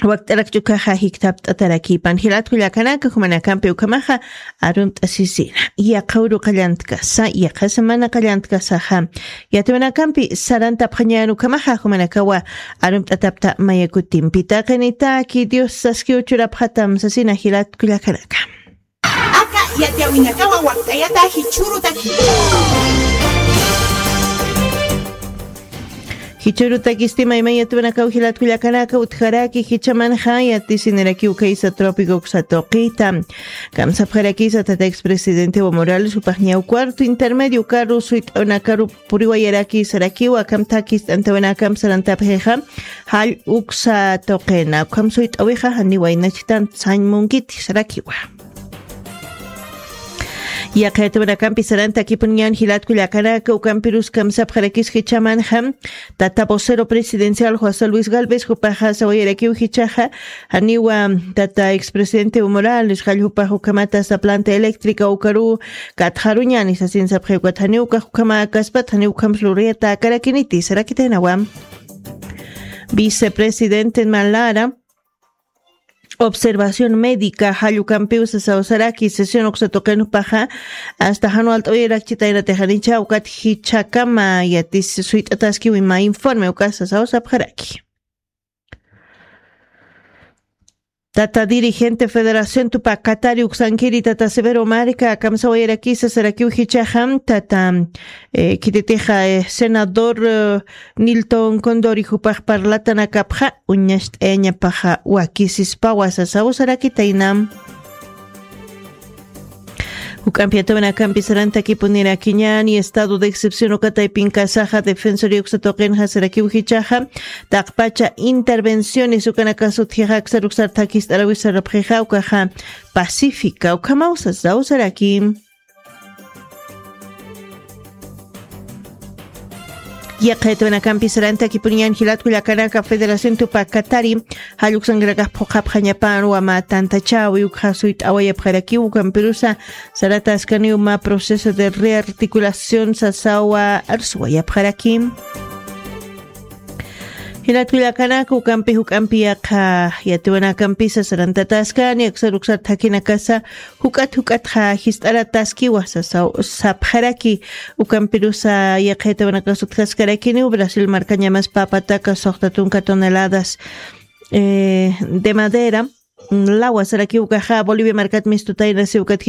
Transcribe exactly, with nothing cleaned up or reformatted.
wakt'arakchukaxa jiktapt'atarakipan jilatku llakanaka jumanakampi ukhamaxa arumt'asisina yaqha uru qallantkasa yaqha semana qallantkasaxa yatiwanakampi sarantapxañan ukhamaxa jumanakawa arumt'atapta mayakutimpi taqinitaki dios saskiw churapxatam sasina jilatku llakanaka. Aka yatiyawinakawa wakt'ayata jichhurutaki. Jichhurutakisti mayman yatwanakaw jilatku llakanaka utjaraki jichhamanxa yatisinirakiw kaysa trópico uksa tuqita. Kamsapxarakisa tata expresidente evo morales jupaxñaw cuarto intermedio karu suyt'awnakaru puriwayaraki sarakiwa akamtakist'antawanakam sarantapxixa jall uksa tuqina ukham suyt'awixa janiwaynachtan sañ munkiti sarakiwa. Yaqayatawanakampi sarantakipuniñan jilatku llakanaka ukampirus kamsapxarakis jichhamanxa tata vocero presidencial josé luis galvez jupaxa sawayarakiw jichhaxa janiwa tata expresidente evo morales jall jupax ukhamata sa planta eléctrica ukaru katxaruñani sasin sapxi ukat janiw ukax ukhama kaspat janiw ukhams luriyata akarakiniti sarakitaynawa. Vicepresidente malara observación médica jallukampiw sasaw saraki sesión uksa tuqinpaxa asta jan walt'awirakchitayna tixanicha ukat jichhakama yatis suyt'ataskiw ima informe uka sasaw sapxaraki. Tata dirigente federación tupa katari uksankiri tata severo marca kamsawayarakisa sarakiw jichhaxam tata eh, khititixa eh, senador eh, nilton condori jupax parlatanakapxa uñacht'ayañapaxa wakisispawa sasaw sarakitaynam. Juk'ampi yatawanakampi sarantakipunirakiñani estado de excepción ukataypinkasaxa defensoría uksatuqinxa sarakiw jichhaxa taqpacha intervenciones ukanakasutjixa aksaruksar thakist'arawisarapxixa ukaxa pacífica ukhamaw sasaw saraki. Yaqaytawanakampi sarantakipuniñan jilatku llakanaka federación tupa katari jalluksankarakax phuqhapxañapan wama tantachäwi ukxa suyt'awayapxarakiw ukampirusa sarataskaniw mä proceso de rearticulación sasawa arsuwayapxaraki. Jilatku llakanaka ukampi juk'ampi yaqha yatiwanakampisa sarantataskani aksar uksar thakhinakasa juk'at juk'atxa jist'arataskiwa sasaw sapxaraki. Ukampirusa yaqhayatawanakasutjaskarakiniw brasil markañamas papataka suxta tunka toneladas eh, de madera lawa saraki ukaxa bolivia markat mistutayna si ukat